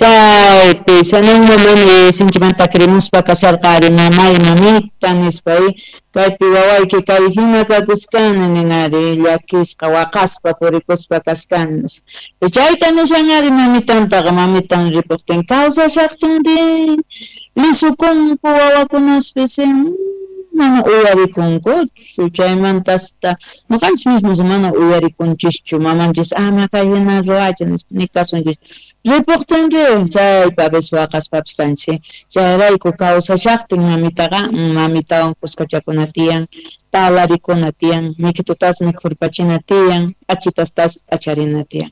Chaypi Zenón Molini sinchimanta takirimuspa kasharqa ari mamay mamita nispa, kaypi wawayki kay hina kakuskani nin ari, llakisqa waqaspa purikuspa kaskani nispa. Chayta nishan ari mamitantaqa, mamitan ripuqtin kawsashaqtin rin lisukunku wawakunaspis, mana uyarikunkuchu, chaymanta hasta ñuqanchis mismos mana uyarikunchischu mamanchis ama kay hina ruwachu nispa ni kasunchis. Ripuqtin rin chaypi a veces waqaspapis kanchis, chayrayku kawsashaqtin mamitaqa mamitawan kuskachakuna tiyan, talarikuna tiyan, mikhitutas mikhurpachina tiyan, p'achitastas p'acharina tiyan.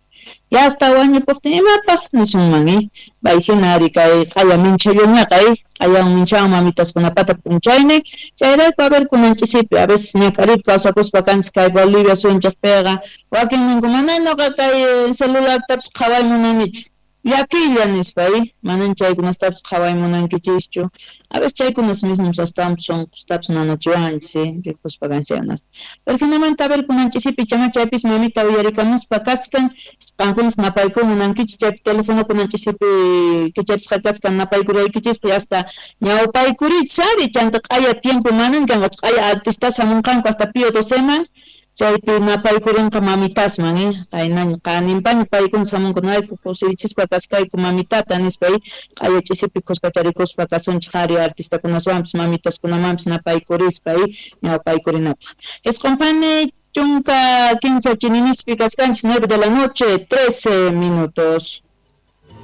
Ya hasta wañupuqtin imapaq nisunman, pay hina ari kay q'aya minchhalluñaqa, q'ayawan minchawan mamitaskunapata p'unchaynin, chayrayku a ver kunan ch'isipi a veces ñak'ariypi kawsakuspa kanchis kay Bolivia suyunchikpiqa, wakin ninku mana ñuqa kay celulartapis qhaway munanichu, llakiylla nispa, manan chaykunastapis qhaway munankichischu, a veces chaykunas mismos astawanpis sunqustapis nanachiwanchis, rikuspa kanchis chaykunasta. Pero hinamanta a ver kunan ch'isipi chama chaypis mamita uyarikamuspa kachkan, qankunas napaykuy munankichis chaypi telefono kunan ch'isipi kicharisqa kachkan napaykuraykichispaq hasta ñawpaykurichis ari, chanta q'aya tiempo manan kanqachu, q'aya artistas hamunqanku hasta Pío Doceman, chaypi napaykurinqa mamitasman, qaynaña qaninpaña paykuna hamunku noqayku kusirichispa kaskayku mamitata nispa, q'aya ch'isipi kuskacharikuspa kasunchik ari artistakunaswanpis mamitaskunamanpis napaykurispa, ñawpaykurinapaq. Isqun pani chunka kinsa chininispi kaskanchis, 9 de la noche, 13 minutos.